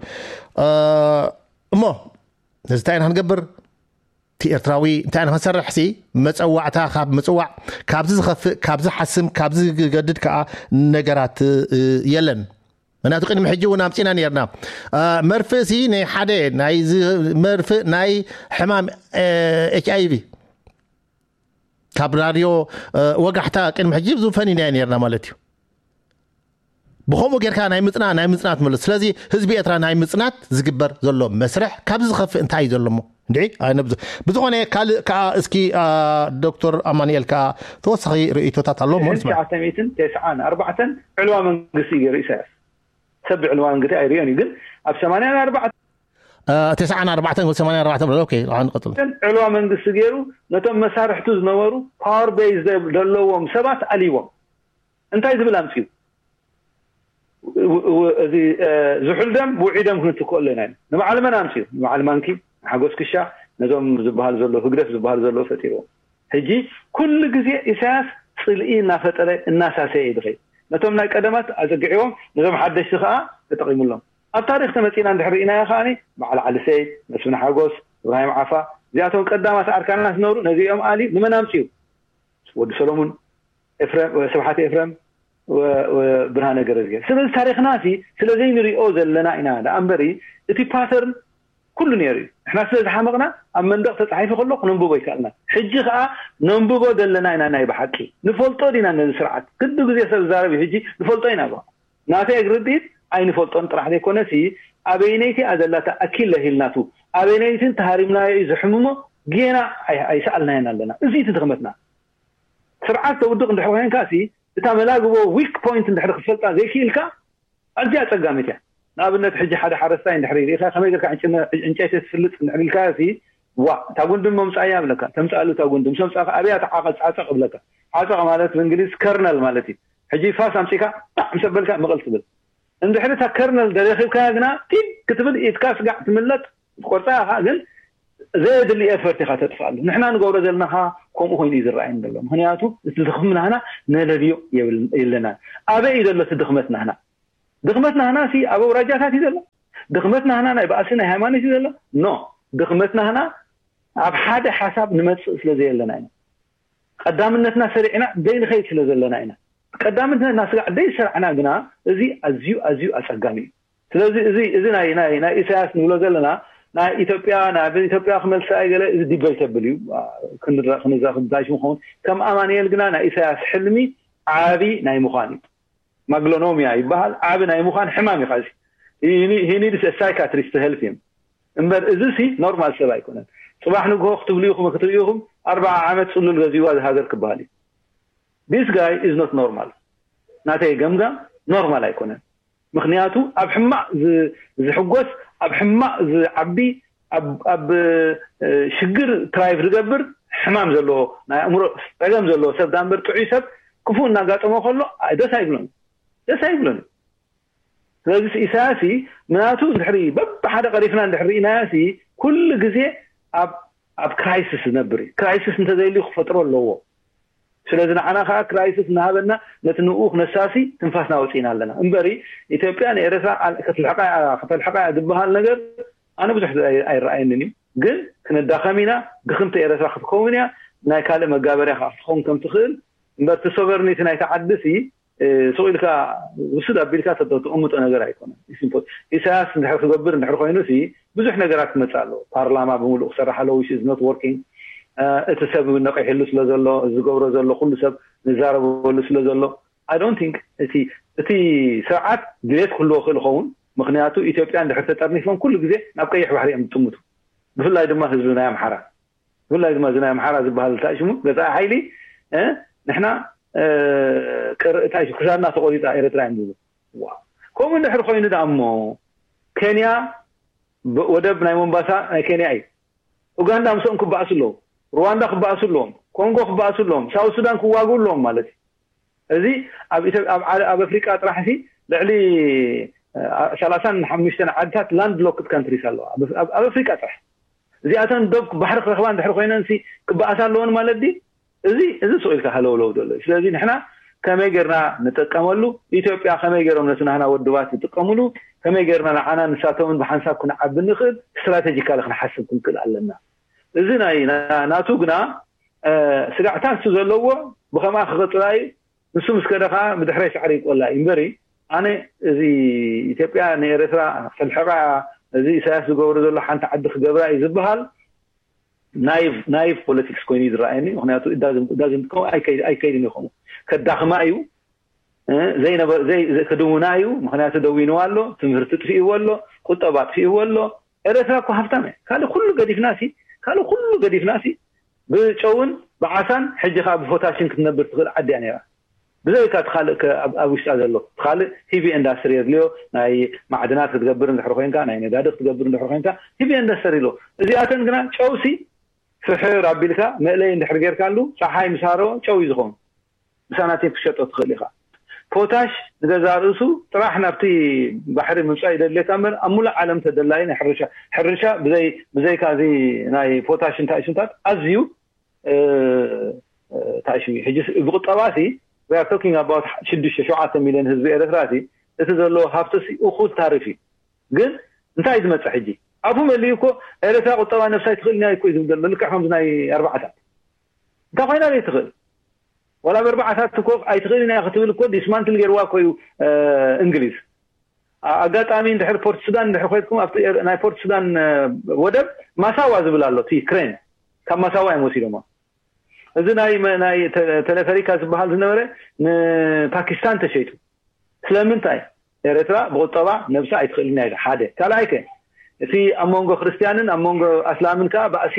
እሞ ነዚ እንታይ ኢና ክንገብር? እቲ ኤርትራዊ እንታይ ኢና ክንሰርሕ ሲ መፀዋዕታ ካብ ምፅዋዕ ካብዚ ዝኸፍእ ካብዚ ሓስም ካብዚ ዝገድድ ከዓ ነገራት የለን። ምክንያቱ ቅድሚ ሕጂ እውን ኣምፂና ነርና መርፍእ ሲ ናይ ሓደ ናይ መርፍእ ናይ ሕማም ኤች ኣይቪ ካብ ራድዮ ወጋሕታ ቅድሚ ሕጂ ብዙ ፈኒናዮ ነርና ማለት እዩ። ብኸምኡ ጌርካ ናይ ምፅና ናይ ምፅናት መለስ ስለዚ ህዝቢ ኤርትራ ናይ ምፅናት ዝግበር ዘሎ መስርሕ ካብዚ ዝኸፍእ እንታይ እዩ ዘሎ ሞ እንድዒ ኣይነብዙ። ብዝኾነ ካልእ ከዓ እስኪ ዶክተር ኣማኑኤል ከዓ ተወሳኺ ርእይቶታት ኣሎ ሞ ንስማ። ትሽዓተ ሚእትን ተስዓን ኣርባዕተን ዕልዋ መንግስቲ እዩ ገይሩ ኢሳያስ። ሰብ ዕልዋ መንግስቲ ኣይርእዮን እዩ ግን ኣብ ሰማንያን ኣርባዕተን ተስዓን ኣርባዕተን ወይ ሰማንያን ኣርባዕተን ብሎ ኦኬ ንቐፅል። ዕልዋ መንግስቲ ገይሩ ነቶም መሳርሕቱ ዝነበሩ ፓወር ቤዝ ዘለዎም ሰባት ኣልይዎም እንታይ ዝብል ኣምፅኡ እዚ ዝሑል ደም ብውዒ ደም ክንትክኦ ኣለና ኢና። ንበዓል መን ኣምፅኡ? ንበዓል ማንኪ፣ ንሓጎስ ክሻ፣ ነዞም ዝበሃል ዘሎ ህግደፍ ዝበሃል ዘሎ ፈጢርዎም። ሕጂ ኩሉ ግዜ ኢሳያስ ፅልኢ እናፈጠረ እናሳሰየ እዩ ዝኸይድ። ነቶም ናይ ቀደማት ኣፀግዕዎም ነዞም ሓደሽቲ ከዓ ተጠቒሙሎም። ኣብ ታሪክ ተመፂና እንድሕር ርኢናዮ ከዓ በዓል ዓሊ ሰይድ፣ መስፍን ሓጎስ፣ እብራሂም ዓፋ እዚኣቶም ቀዳማት ኣርካናት ዝነበሩ ነዚኦም ኣሊ ንመን ኣምፅኡ? ወዲ ሰሎሙን፣ ኤፍረም፣ ስብሓት ኤፍረም፣ ብርሃነ ገረዝጊሄር። ስለዚ ታሪክና ሲ ስለዘይንሪኦ ዘለና ኢና ደኣ እምበሪ እቲ ፓተርን ኩሉ ነይሩ እዩ። ንሕና ስለ ዝሓመቕና ኣብ መንደቕ ተፃሒፉ ከሎ ክነንብቦ ይከኣልና። ሕጂ ከዓ ነንብቦ ዘለና ኢና ናይ ብሓቂ። ንፈልጦ ዲና ነዚ ስርዓት? ክዱ ግዜ ሰብ ዝዛረብ እዩ ሕጂ ንፈልጦ ኢና በቃ። ናተይ ርድኢት ኣይንፈልጦን ጥራሕ ዘይኮነሲ ኣበይነይቲ እያ ዘላታ ኣኪለ ሂልናቱ ኣበይነይትን ተሃሪምናዮ እዩ ዘሕምሞ ጌና ኣይሰኣልናዮን ኣለና። እዚ እቲ ድኽመትና። ስርዓት ተውድቕ እንድሕር ኮይንካ ሲ እታ መላግቦ ዊክ ፖይንት እንድሕር ክፈልጣ ዘይክኢልካ ኣዝያ ኣጸጋሚት እያ። ንኣብነት ሕጂ ሓደ ሓረስታይ እንድሕር ርኢኻ ከመይ ጌርካ ዕንጨይቲ ትፍልጥ እንድሕር ኢልካዮ ሲ ዋ እታ ጉንዲ መምጻእያ ይብለካ። ተምጻኣሉ እታ ጉንዲ ምስ ኣምጻእካ ኣብያ ትዓቐጽ ዓጸቕ ይብለካ። ዓጸቕ ማለት ብእንግሊዝ ከርነል ማለት እዩ። ሕጂ ፋስ ኣምጺእካ ጣዕ ምስ ኣበልካ ምቕል ትብል። እንድሕር እታ ከርነል ደረኺብካያ ግና ቲግ ክትብል ኢድካ ስጋዕ ትምለጥ ትቆርጻ ኢኻ ግን ዘየድሊ ኤፈርት ኢኻ ተጥፍኣሉ። ንሕና ንገብሮ ዘለና ከምኡ ኮይኑ እዩ ዝረኣየኒ ዘሎ። ምክንያቱ እቲ ድኽም ናህና ነለልዮ የብለናን። ኣበይ እዩ ዘሎ እቲ ድኽመት ናህና? ድኽመት ናህና ሲ ኣብ ኣውራጃታት እዩ ዘሎ? ድኽመት ናህና ናይ ባእሲ ናይ ሃይማኖት እዩ ዘሎ? ኖ፣ ድኽመት ናህና ኣብ ሓደ ሓሳብ ንመፅእ ስለ ዘየለና ኢና። ቀዳምነትና ሰሪዕና ዘይንኸይድ ስለ ዘለና ኢና። ቀዳምነትና ስጋዕ ዘይሰራዕና ግና እዚ ኣዝዩ ኣዝዩ ኣፀጋሚ እዩ። ስለዚ እዚ እዚ ናይ ናይ ናይ ኢሳያስ ንብሎ ዘለና ናይ ኢትዮጵያ ናይ ኢትዮጵያ ክመልሳ ገለ እዚ ዲበይተብል እዩ። ክንረዳእ ክንዛረብ እንታይ ምኸውን ከም ኣማንኤል ግና ናይ ኢሳያስ ሕልሚ ዓቢ ናይ ምዃን እዩ። ማግሎኖሚያ ይበሃል። ዓቢ ናይ ምዃን ሕማም እዩ። ዚ he needs a psychiatrist to help him እምበር እዚ ሲ ኖርማል ሰብ ኣይኮነን። ፅባሕ ንግሆ ክትብሉ ኢኹም ክትርእዩ ኢኹም ኣርባዓ ዓመት ፅሉል ገዚዋ ዝሃገር ክበሃል እዩ። This guy is not normal። ናተይ ገምጋም ኖርማል ኣይኮነን። ምክንያቱ ኣብ ሕማቕ ዝሕጎስ ኣብ ሕማቕ ዝዓቢ ኣብ ሽግር ትራይቭ ዝገብር ሕማም ዘለዎ ናይ ኣእምሮ ፀገም ዘለዎ ሰብ ዳንበር ጥዑይ ሰብ ክፉእ እናጋጠሞ ከሎ ደስ ኣይብሎን ደስ ኣይብሎን። ስለዚ ኢሳያስ ምናቱ እንድሕሪ በብሓደ ቀሪፍና እንድሕሪ ርኢናዮ ኩሉ ግዜ ኣብ ኣብ ክራይሲስ ዝነብር እዩ። ክራይሲስ እንተዘይልዩ ክፈጥሮ ኣለዎ። ስለዚ ንዓና ከዓ ክራይሲስ እናሃበና ነቲ ንኡ ክነሳሲ ትንፋስና ወፂእና ኣለና እምበሪ ኢትዮጵያ ንኤረትራ ከተልሕቃ ከተልሕቃ ዝበሃል ነገር ኣነ ብዙሕ ኣይረኣየንን እዩ። ግን ክንዳኸም ኢና። ድኽምቲ ኤረትራ ክትከውን እያ። ናይ ካልእ መጋበርያ ከዓ ክትኸውን ከም ትኽእል እምበር እቲ ሶቨርኒቲ ናይቲ ዓዲ ሲ ስቕ ኢልካ ውሱድ ኣቢልካ ተቐምጦ ነገር ኣይኮነን። ኢሳያስ እንድሕር ክገብር እንድሕር ኮይኑ ሲ ብዙሕ ነገራት ክመፅእ ኣለዎ። ፓርላማ ብምሉእ ክሰርሕ ኣለዎ which is not working። እቲ ሰብ እውን ነቂሕሉ ስለ ዘሎ ዝገብሮ ዘሎ ኩሉ ሰብ ንዛረበሉ ስለ ዘሎ I don't think እቲ እቲ ስርዓት ድሌት ክህልዎ ክእል ይኸውን። ምክንያቱ ኢትዮጵያ እንድሕር ተጠርኒፎም ኩሉ ግዜ ናብ ቀይሕ ባሕሪ እዮም ዝጥምቱ። ብፍላይ ድማ ህዝቢ ናይ ኣምሓራ ብፍላይ ድማ እዚ ናይ ኣምሓራ ዝበሃል እንታይ ሽሙ ገዛኢ ሓይሊ ንሕና ክሳድና ተቆሪፃ ኤረትራ እዮም ዝብሉ። ከምኡ እንድሕር ኮይኑ ደኣ እሞ ኬንያ ወደብ ናይ ሞምባሳ ናይ ኬንያ እዩ። ኡጋንዳ ምስኦም ክበኣሱ ኣለዎም። ሩዋንዳ ክበኣሱ ኣለዎም። ኮንጎ ክበኣሱ ኣለዎም። ሳውት ሱዳን ክዋግኡ ኣለዎም ማለት እዩ። እዚ ኣብ ኣፍሪቃ ጥራሕ ሲ ልዕሊ ሰላሳን ሓሙሽተን ዓድታት ላንድ ሎክድ ካንትሪስ ኣለዋ ኣብ ኣፍሪቃ ጥራሕ። እዚኣተን ዶብ ባሕሪ ክረኽባ እንድሕር ኮይነን ሲ ክበኣሳ ኣለወን ማለት ድዩ? እዚ እዚ ስቕ ኢልካ ሃለውለው ዘሎ እዩ። ስለዚ ንሕና ከመይ ጌርና ንጥቀመሉ፣ ኢትዮጵያ ከመይ ጌሮም ነቲ ናህና ወድባት ዝጥቀምሉ፣ ከመይ ጌርና ንዓና ንሳቶምን ብሓንሳብ ክንዓቢ ንኽእል ስትራቴጂካሊ ክንሓስብ ክንክእል ኣለና። እዚ ናይ ናቱ ግና ስጋዕታ ንሱ ዘለዎ ብኸምኣ ክቕፅላ እዩ። ንሱ ምስ ከደ ከዓ ብድሕረይ ሳዕሪ ይቆላ እዩ እምበሪ ኣነ እዚ ኢትዮጵያ ንኤረትራ ክተልሕቃ እዚ ኢሳያስ ዝገብሮ ዘሎ ሓንቲ ዓዲ ክገብራ እዩ ዝበሃል ናይቭ ፖለቲክስ ኮይኑ እዩ ዝረኣየኒ። ምክንያቱ ኣይከይድን ይኸሙ ከዳኽማ እዩ ክድውና እዩ። ምክንያቱ ደዊንዋ ኣሎ፣ ትምህርቲ ጥፊእዎ ኣሎ፣ ቁጠባ ጥፊእዎ ኣሎ። ኤረትራ እኮ ሃብታም እያ። ካልእ ኩሉ ገዲፍና ሲ ካልእ ኩሉ ገዲፍና ሲ ብጨውን ብዓሳን ሕጂ ከዓ ብፖታሽን ክትነብር ትኽእል ዓዲ እያ ነይራ። ብዘይካ እቲ ካልእ ኣብ ውሽጣ ዘሎ እቲ ካልእ ሂቪ ኢንዳስትሪ የድልዮ። ናይ ማዕድናት ክትገብር እንድሕር ኮይንካ ናይ ነዳዲ ክትገብር እንድሕር ኮይንካ ሂቪ ኢንዳስትሪ ኣሎ። እዚኣተን ግና ጨውሲ ፍሕር ኣቢልካ መእለይ እንድሕር ጌርካሉ ፀሓይ ምሳሮ ጨው እዩ ዝኸውን። ብሳናቲም ክሸጦ ትኽእል ኢኻ። ፖታሽ ንገዛ ርእሱ ጥራሕ ናብቲ ባሕሪ ምምፃእ ይደድልየካ እምበር ኣብ ሙሉእ ዓለም ተደላይ ናይ ሕርሻ ሕርሻ ብዘይ ብዘይካ እዚ ናይ ፖታሽ እንታይ ሽምታት ኣዝዩ እንታይ ሽም እዩ ሕጂ ብቁጠባ ሲ we are talking about ሽዱሽተ ሸውዓተ ሚሊዮን ህዝቢ ኤረትራ ሲ እቲ ዘለዎ ሃብቲ ሲ እኹል ታሪፍ እዩ። ግን እንታይ ዝመፅእ ሕጂ ኣፉ መሊኡ እኮ ኤረትራ ቁጠባ ነብሳ ይትኽእል ኢና እኮ እዩ ዝብል ዘሎ ልክዕ ከምዚ ናይ ኣርባዓታት እንታይ ኮይና ዘይትኽእል ዋላ በርባዕታት እኮ ኣይትኽእል ኢና ክትብል እኮ ዲስማንትል ገይርዋ እኮ እዩ እንግሊዝ። ኣጋጣሚ እንድሕር ፖርት ሱዳን እንድሕር ኮይድኩም ኣብቲ ናይ ፖርት ሱዳን ወደብ ማሳዋ ዝብል ኣሎ እቲ ክሬን ካብ ማሳዋ እዮም ወሲዶሞ። እዚ ናይ ናይ ተለፈሪካ ዝበሃል ዝነበረ ንፓኪስታን ተሸይጡ። ስለምንታይ ኤረትራ ብቁጠባ ነብሳ ኣይትኽእልን እያ ኢላ ሓደ ካልኣይ ከ እቲ ኣብ መንጎ ክርስትያንን ኣብ መንጎ ኣስላምን ከዓ ባእሲ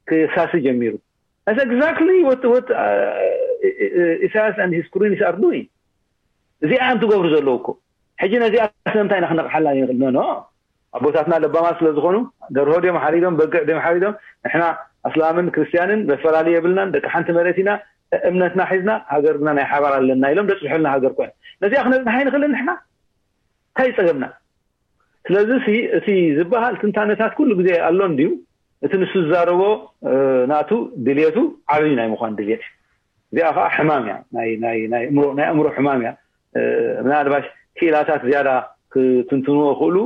ክሳሲ ጀሚሩ። That's exactly what what uh, Isaias and his Qureens are doing. እዚኣ እዮም ትገብሩ ዘለዉ እኮ። ሕጂ ነዚኣ ስለምንታይ ኢና ክነቕሓላ ንኽእል? ኖ ኖ ኣቦታትና ለባማት ስለ ዝኾኑ ደርሆ ድዮም ሓሪዶም በግዕ ድዮም ሓሪዶም ንሕና ኣስላምን ክርስትያንን መፈላለዩ የብልናን ደቂ ሓንቲ መሬት ኢና እምነትና ሒዝና ሃገርና ናይ ሓባር ኣለና ኢሎም ደፅሑልና ሃገር ኮነ ነዚኣ ክነፅንሓ ይንኽእልን ንሕና እንታይ ይፀገምና? ስለዚ እቲ ዝበሃል ትንታነታት ኩሉ ግዜ ኣሎ እንድዩ እቲ ንሱ ዝዛረቦ ናቱ ድልየቱ ዓብይ ናይ ምዃን ድልየት እዩ። እዚኣ ከዓ ሕማም እያ፣ ናይ ኣእምሮ ሕማም እያ። ምናልባሽ ክኢላታት ዝያዳ ክትንትንዎ ክእሉ፣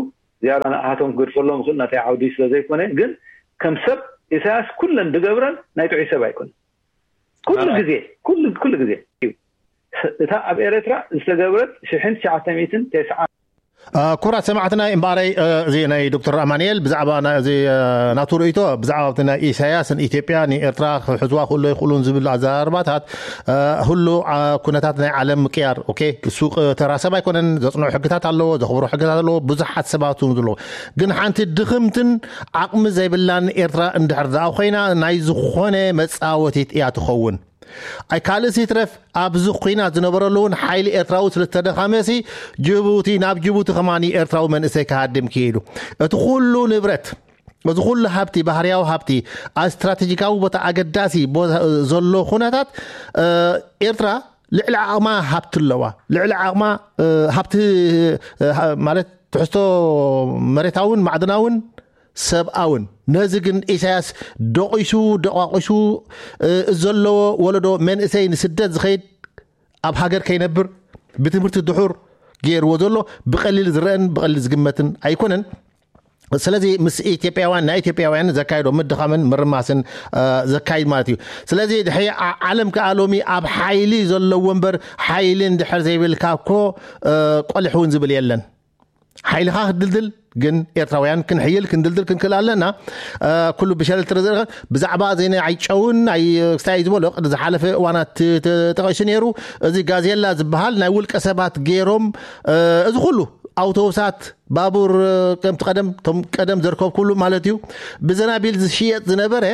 ዝያዳ ንኣሃቶም ክገድፈሎም ክእል ናተይ ዓውዲ ስለዘይኮነ፣ ግን ከም ሰብ ኢሳያስ ኩለን ዝገብረን ናይ ጥዑይ ሰብ ኣይኮነ። ኩሉ ግዜ ኩሉ ግዜ እዩ። እታ ኣብ ኤረትራ ዝተገብረት ሽሕን ትሽዓተ ሚእትን ተስዓን ኩራት ሰማዕትና እምበኣረይ፣ እዚ ናይ ዶክተር ኣማንኤል ብዛዕባ እዚ ናቱ ርእይቶ ብዛዕባ ናይ ኢሳያስ ንኢትዮጵያ ንኤርትራ ክሕዝዋ ክእሎ ይኽእሉን ዝብል ኣዘራርባታት፣ ሁሉ ኩነታት ናይ ዓለም ምቅያር። ኦኬ፣ እሱ ተራ ሰብ ኣይኮነን። ዘጽንዑ ሕግታት ኣለዎ፣ ዘኽብሮ ሕግታት ኣለዎ፣ ብዙሓት ሰባት እውን ዘለዎ። ግን ሓንቲ ድኽምትን ዓቕሚ ዘይብላን ኤርትራ እንድሕር ደኣ ኮይና ናይ ዝኾነ መጻወቲት እያ ትኸውን። ኣይ ካልእስ ይትረፍ ኣብዚ ኩናት ዝነበረሉ እውን ሓይሊ ኤርትራዊ ስለተደኻመሲ ጅቡቲ ናብ ጅቡቲ ከማኒ ኤርትራዊ መንእሰይ ክሃድም ክኢሉ። እቲ ኩሉ ንብረት፣ እዚ ኩሉ ሃብቲ፣ ባህርያዊ ሃብቲ፣ ኣብ ስትራቴጂካዊ ቦታ ኣገዳሲ ቦታ ዘሎ ኩነታት ኤርትራ ልዕሊ ዓቕማ ሃብቲ ኣለዋ። ልዕሊ ዓቕማ ሃብቲ ማለት ትሕዝቶ መሬታውን ማዕድናውን ሰብኣውን። ነዚ ግን ኢሳያስ ደቂሱ ደቋቂሱ ዘለዎ ወለዶ መንእሰይ ንስደት ዝኸይድ ኣብ ሃገር ከይነብር ብትምህርቲ ድሑር ገይርዎ ዘሎ ብቐሊል ዝረአን ብቐሊል ዝግመትን ኣይኮነን። ስለዚ ምስ ኢትዮጵያውያን ናይ ኢትዮጵያውያን ዘካይዶ ምድኻምን ምርማስን ዘካይድ ማለት እዩ። ስለዚ ድሕሪ ዓለም ከዓ ሎሚ ኣብ ሓይሊ ዘለዎ እምበር ሓይሊ እንድሕር ዘይብልካ እኮ ቆልሕ እውን ዝብል የለን። ሓይልኻ ክትድልድል ግን ኤርትራውያን ክንሕይል ክንድልድል ክንክእል ኣለና። ኩሉ ብሸለል ትረዘርኸ ብዛዕባ እዚ ናይ ጨውን ናይ ክስታይ ዝበሎ ቅድ ዝሓለፈ እዋናት ተጠቂሱ ነይሩ። እዚ ጋዜላ ዝበሃል ናይ ውልቀ ሰባት ገይሮም እዚ ኩሉ ኣውቶቡሳት፣ ባቡር፣ ከምቲ ቀደም ቶም ቀደም ዘርከብኩሉ ማለት እዩ፣ ብዘናቢል ዝሽየጥ ዝነበረ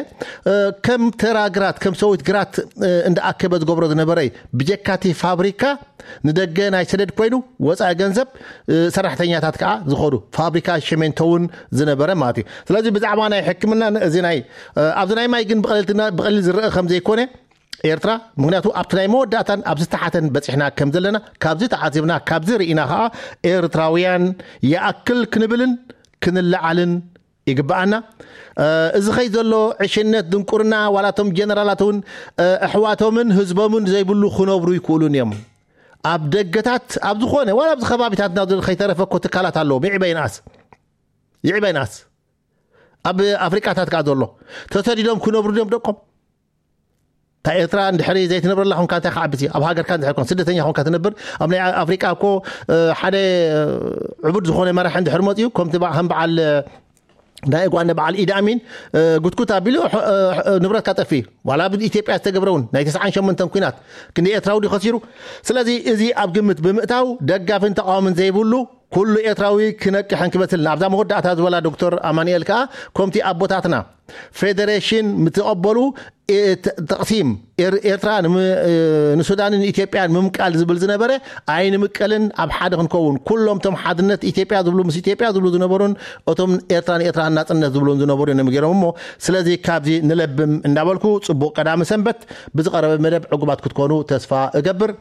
ከም ተራ ግራት ከም ሰዊት ግራት እንዳኣከበ ዝገብሮ ዝነበረ እዩ። ብጀካቲ ፋብሪካ ንደገ ናይ ሰደድ ኮይኑ ወፃኢ ገንዘብ ሰራሕተኛታት ከዓ ዝኸዱ ፋብሪካ ሸሜንቶ እውን ዝነበረ ማለት እዩ። ስለዚ ብዛዕባ ናይ ሕክምና እዚ ናይ ኣብዚ ናይ ማይ ግን ብቐሊል ዝረአ ከም ዘይኮነ ኤርትራ፣ ምክንያቱ ኣብቲ ናይ መወዳእታን ኣብ ዝተሓተን በፂሕና ከም ዘለና ካብዚ ተዓዚብና ካብዚ ርኢና ከዓ ኤርትራውያን ይኣክል ክንብልን ክንለዓልን ይግበኣና። እዚ ኸይ ዘሎ ዕሽነት ድንቁርና ዋላቶም ጀነራላት እውን ኣሕዋቶምን ህዝቦምን ዘይብሉ ክነብሩ ይክእሉን እዮም። ኣብ ደገታት ኣብ ዝኾነ ዋላ ኣብዚ ከባቢታትና ዘሎ ከይተረፈ እኮ ትካላት ኣለዎም። ይዕበይንኣስ ይዕበይንኣስ ኣብ ኣፍሪቃታት ከዓ ዘሎ ተሰዲዶም ክነብሩ እዮም ደቆም። እታ ኤርትራ እንድሕሪ ዘይትነብረላ ኮንካ እንታይ ክዓብሲ? ኣብ ሃገርካ እንድሕር ኮን ስደተኛ ኮንካ ትነብር ኣብ ናይ ኣፍሪቃ እኮ ሓደ ዕቡድ ዝኾነ መራሒ እንድሕር መፅዩ ከምቲ ከም በዓል ናይ ጓንደ በዓል ኢድ ኣሚን ጉትጉት ኣቢሉ ንብረትካ ጠፊ ዋላ ኣብ ኢትዮጵያ ዝተገብረውን ናይ ተስዓን ሸሞንተን ኩናት ክንዲ ኤርትራዊ ድዩ ከሲሩ? ስለዚ እዚ ኣብ ግምት ብምእታው ደጋፍን ተቃዋምን ዘይብሉ ኩሉ ኤርትራዊ ክነቅሕን ክበስልን ኣብዛ መወዳእታ ዝበላ ዶክተር ኣማንኤል ከዓ ከምቲ ኣቦታትና ፌደሬሽን ምትቐበሉ ተቕሲም ኤርትራ ንሱዳንን ኢትዮጵያን ምምቃል ዝብል ዝነበረ ኣይንምቀልን ኣብ ሓደ ክንከውን ኩሎም ቶም ሓድነት ኢትዮጵያ ዝብሉ ምስ ኢትዮጵያ ዝብሉ ዝነበሩን እቶም ኤርትራ ንኤርትራ ናጽነት ዝብሉን ዝነበሩ እዮም ገይሮም እሞ ስለዚ ካብዚ ንለብም እንዳበልኩ ጽቡቕ ቀዳሚ ሰንበት ብዝቐረበ መደብ ዕጉባት ክትኮኑ ተስፋ እገብር።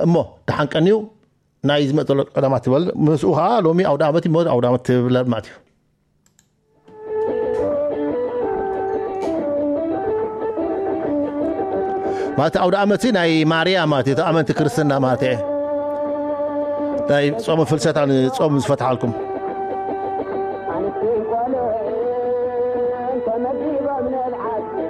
እሞ ደሓን ቀንዩ ናይ ዝመጽእ ዘሎ ቀዳማት ትበል ምስኡ ከዓ ሎሚ ኣውደ ዓመት እዩ። ኣውደ ዓመት ትብለል ማለት እዩ። ማለት ኣውደ ዓመት ናይ ማርያ ማለት እዩ። ኣመንቲ ክርስትና ማለት እየ። ናይ ጾም ፍልሰታ ንጾም ዝፈትሓልኩም